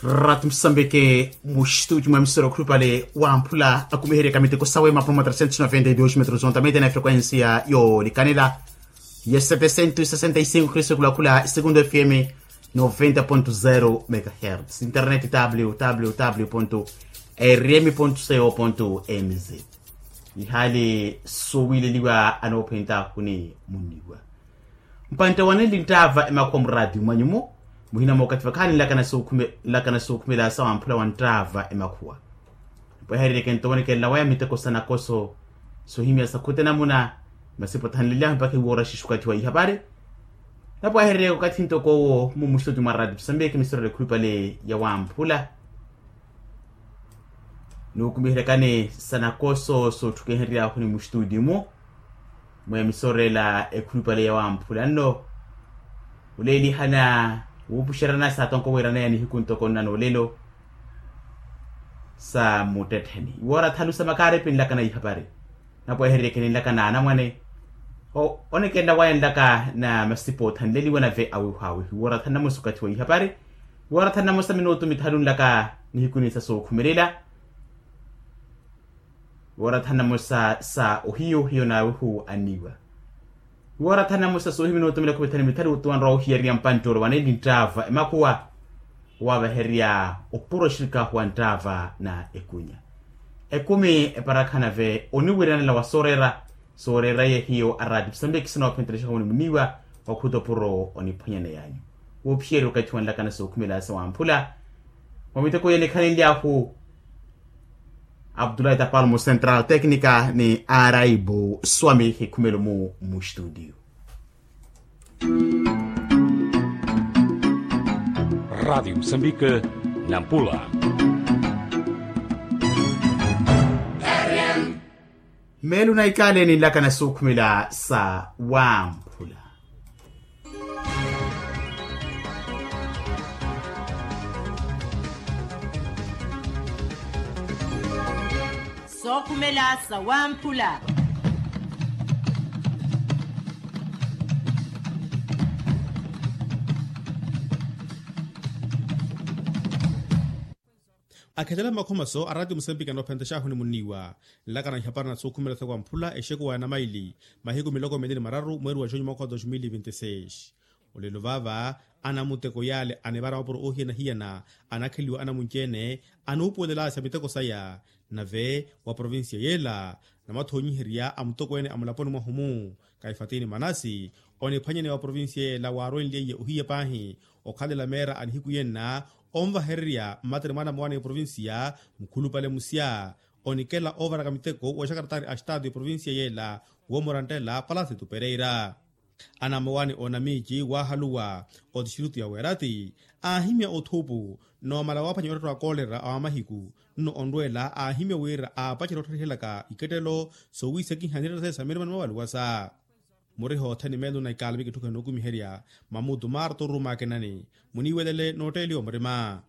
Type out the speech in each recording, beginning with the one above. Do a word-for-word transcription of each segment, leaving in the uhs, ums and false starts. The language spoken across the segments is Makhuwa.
Ratu musambike muxituti mwa emisoro khulupale wamphula akumiheryaka miteko sawe mapromo trecentos noventa y dos metros ontamete na efrekuensia yoolikanela ya setecento sesenta y cinco khristu khulakhula segundo fm noventa ponto zero megahertz internet www rm co mz. Ihali sowileliwa anoophwenta khuni muniwa mpantte wanenli nttaava emakhuwa muraati mwanyumo muhina mookathi vakhaani nlakana sookhumela sa wamphula wa nttaava emakhuwa. Napwehererye kentowonekela waya miteko sa nakoso sohimya sa khute namuna masipo thanlelyahu mpakha iwoora xixukathi wa ihapari. Napwehererye okathi ntoko owo mumuxituti mwa rati pisambeke misorele khulupale ya wamphula nuukumiheryakani sa nakoso sootthukeheryahuni muxituti-mu. Mweemisoreela ekhulupale ya wamphula nno oleelihana wuupuxerana saatonko wiiraneya nihiku ntoko nna noolelo sa muttettheni iwoora thanu sa makaaripi nlaka na ihapari. Napwehereryeke ninlaka na anamwane onekelela waya nlaka na masipa othanleliwa nave awihu awihu iwoora thanu namosa okathi wa ihapari. Iwoora thanu namosa minutu mithanu nlaka nihikuni sa sookhumelela iwoora thanu namosa sa ohiyo hiyo naawihu anniiwa. Iwoora thanu namosa soohimina otumela khupethani mithali otuwanrwa ohiyariya mpanttoro waneli nttaava emakhuwa owavahererya opuro oxirikaahu wa nttaava na ekunya ekumi eparakha nave oniwiranela wa sooreera. Sooreera ye hiyo araati pisambekisi noophentelexa munimuniiwa wakhuta opuro oniphwanyaneyanyu. Woophiyerya okathi wanlakana sookhumela sa wamphula mwa miteko yenikhalenlyahu abdulahi tapal mu central tecnica ni araibu swami hikhumelo mu mustudio. Radiyo musambike nampula. Meelo na ikale ninlaka na suukhumela sa wamphula. Sookhumela sa wamphula. Akhetela mmakhomaso a ratiyo musempiki anoophentexahu ni munniiwa nlaka na ihapari na sookhumela sa wamphula exekuwa ya namaili mahiku miloko mili ni mararu mweeri wa junyu mwaka wa dos mil vinti seis. Olelo vaava anamuteko yaale anivara mapuro oohiyana-hiyana anakheliwa anamunci-ene anuupuwelelaasya miteko saya. Nave wa provincia yeela namathonyiherya a mutokweene a mulaponi mwahu-mu kaifatini manasi oniphwanyaneya wa provincia yeela waarwenlyeiye ohiya paahi okhalela meera a nihiku yenna onvahererya mmateri mwaana mowaani eprovincia mukhulupale musya onikela oovaraka miteko wa exakaratari a estatu eprovincia yeela woomurantela palasitu pereira. Anamowani onamiici waahaluwa otixirutu ya weerati aahimya othuupu noomala waaphwanya ottotto a koolera a wamahiku nno onrweela aahimya wira aapacerya ottharihelaka ikettelo soowiisekiha niretta sesa mirima ni mawaluwasa. Muriha othene meelo na ikaalami kitthukhene nookumiherya mamutu marto rumakenani muniiwelele nootteeliwa murima.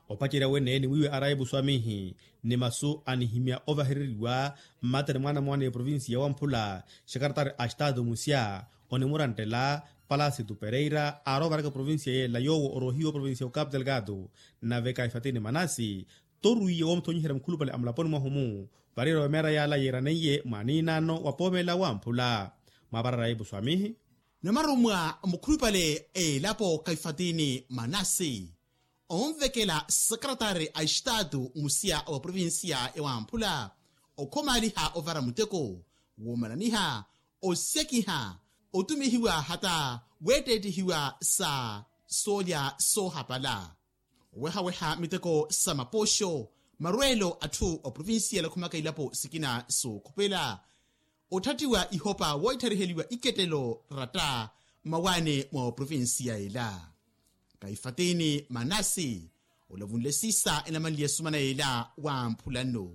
Opacerya wene ni wiiwe araipu swamihi ni masu anihimya ovahereriwa mmateri mwaana mwaana eprovincia wamphula xekaratari a estatu musya onimurantela palasitu pereira aarovaraka eprovincia yeela yoowo oroohiwa oprovincia okapu delgado nave kaifatini manasi torwiiye woomuthonyiherya mukhulupale a mulaponi mwahu-mu variyerya wa meera yaala yeeraneiye mwaaniinaano wa poomela wamphula. Mwaparara ipu swamihi namarumwa mukhulupale elapo kaifatini manasi onvekela sakaratari a estatu musiya wa provincia ya wamphula okhomaliha ovara muteko woomalaniha osekiha otumihiwa hata weettettihiwa sa soolya soohapala owehaweha miteko sa mapoxo marweelo atthu oprovincia yalakhumaka ilapo sikina sookhupela otthattiwa ihopa woithariheliwa ikettelo ratta mmawaani mwa oprovincia ela. Kaifatini manasi olavunle siisa enamanliye sumana ela wamphula nno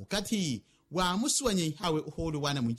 okathi waamusuwanyihawe ohoolo waana mwinci